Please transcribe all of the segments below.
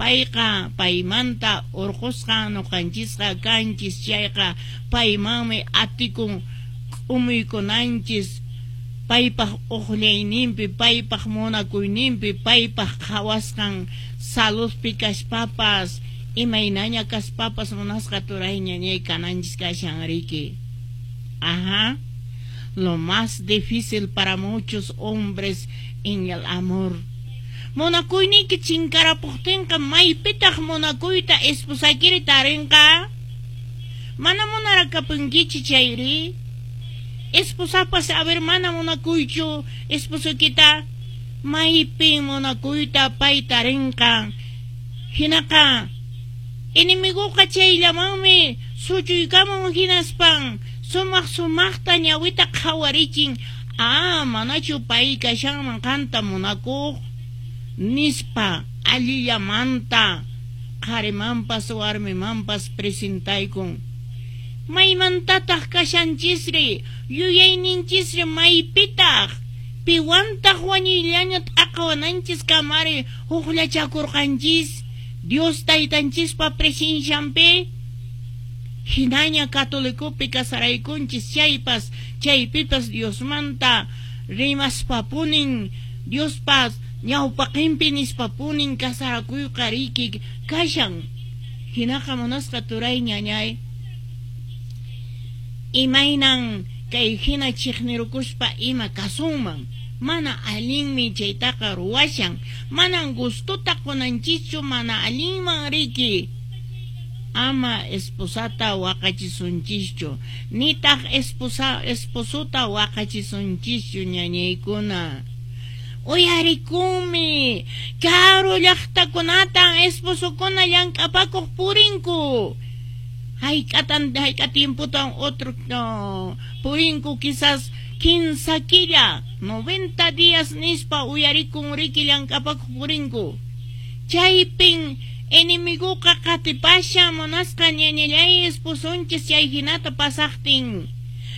Payqa paymanta urqusqan ñuqanchisqa kanchis, chayqa paymanmi atikun k'umuykunanchis, paypaq uqllayninpi, paypaq munakuyninpi, paypaq qhawasqan saludpi kaspapas, imaynaña kaspapas munasqa turay ñañay kananchis kashan riki. Ajá. Lo más difícil para muchos hombres en el amor. Munakuyniyki chinkarapuqtinqa, maypitaq munakuyta esposaykiri tarinqa? Mana munarakapunkichu chayri? Esposapas, a ver, mana munakuychu esposuykita, maypin munakuyta pay tarinqa? Hinaqa enemiguqa chayllamanmi suchuykamun, hinaspan sumaq sumaqta ñawita qhawarichin: "Ah, manachu pay kashanman qanta munakuq?" nispa allillamanta qharimanpas warmimanpas presentaykun. Maymantataq kashanchisri? Yuyayninchisri maypitaq? Piwantaq wañuyllaña t'aqawananchis kamari hukllachakurqanchis Dios taytanchispa presencianpi? Hinaña catolicopi casaraykunchis chaypas, chaypipas Diosmanta rimaspapunin, Diospas ñawpaqinpi nispapunin casarakuyqa riki kashan. Hinaqa munasqa turay ñañay, imaynan kay hina chiqnirukuspa ima kasunman? Mana allinmi chaytaqa ruwashan, manan gustota qunanchischu mana allinman riki. Ama esposata waqachisunchischu, nitaq esposa esposota waqachisunchischu, ñañaykuna. Uyarikunmi, karu llaqtakunatan esposokuna llank'apakuq purinku. Hayk'atan, hayk'a tiempotan otro no, purinku, quizás 3 killa, 90 días nispa uyarikun riki, llank'apakuq purinku. Chaypin enemiguqa qatipashan, munasqa ñañallay, esposonchis chay hinata pasaqtin.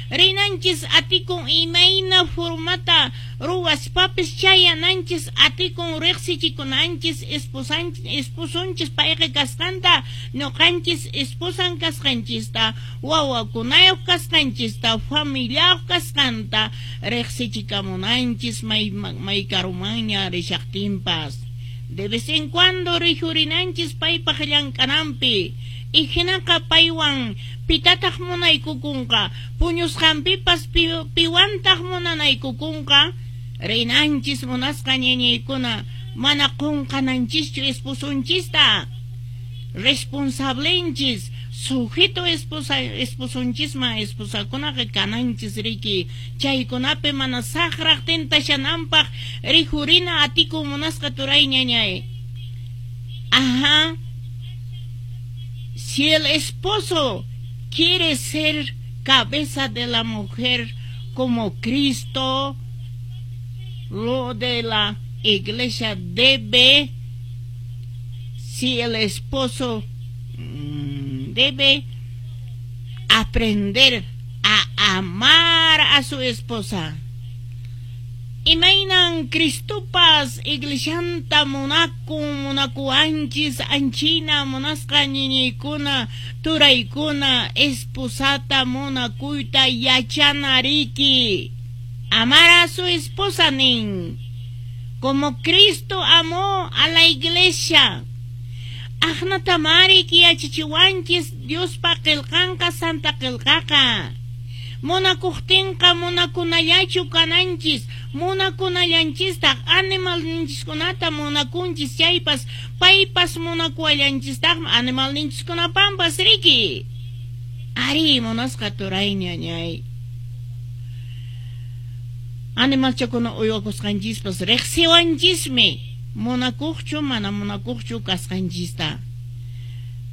Rinanchis atikun imayna formata ruwaspapis, chayananchis atikun, riqsichikunanchis esposanchis, esposonchis payqa kasqanta, ñuqanchis esposan kasqanchista, wawakunayuq kasqanchista, familiayuq kasqanta riqsichikamunanchis may may karumanña rishaqtinpas. De vez en cuando rijurinanchis paypaq llank'ananpi. Hinaqa paywan pitataq munaykukunqa? Puñusqanpipas piwantaq munanaykukunqa? Rinanchis, munasqa ñañaykuna, mana qunqananchischu esposonchista. Responsablenchis, sujeto esposa esposonchisman esposakunaqa kananchis riki. Chaykunapi mana saqraq tentashananpaq rijurina atikun, munasqa turay ñañay. Ajá. Si el esposo quiere ser cabeza de la mujer como Cristo, lo de la iglesia debe, si el esposo debe aprender a amar a su esposa. Imaynan Cristopas iglesianta munakun, munakuwanchis, anchina munasqa ñiñiykuna, turaykuna, esposata munakuyta yachana riki. Amar a su esposa nin, como Cristo amó a la iglesia. Aqnatamari yachachiwanchis Diospa qillqanqa, Santa Qillqaqa. Munakuqtinqa munakunallachu kananchis, munakunallanchistaq animalninchiskunata munakunchis chaypas, paypas munakuwallanchistaqmi animalninchiskunapampas riki. Ari, munasqa turay ñañay. Animalchakuna uywakusqanchispas riqsiwanchismi munakuqchu mana munakuqchu kasqanchista.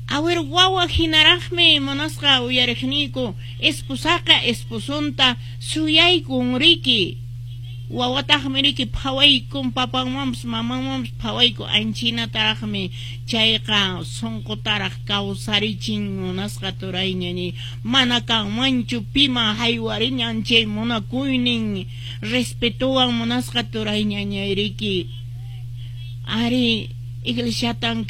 Awir wawa hinaraqmi, munasqa uyariqniyku, esposaqa esposonta suyaykun riki. Wawataqmi riki phawaykun papanmanpas mamanmanpas phawaykun, anchinataraqmi chayqa sunqutaraq kawsarichin, munasqa turay ñañay. Mana kanmanchu piman haywariñan chay munakuynin respetowan, munasqa turay ñañay riki. Ari, iglesiatan.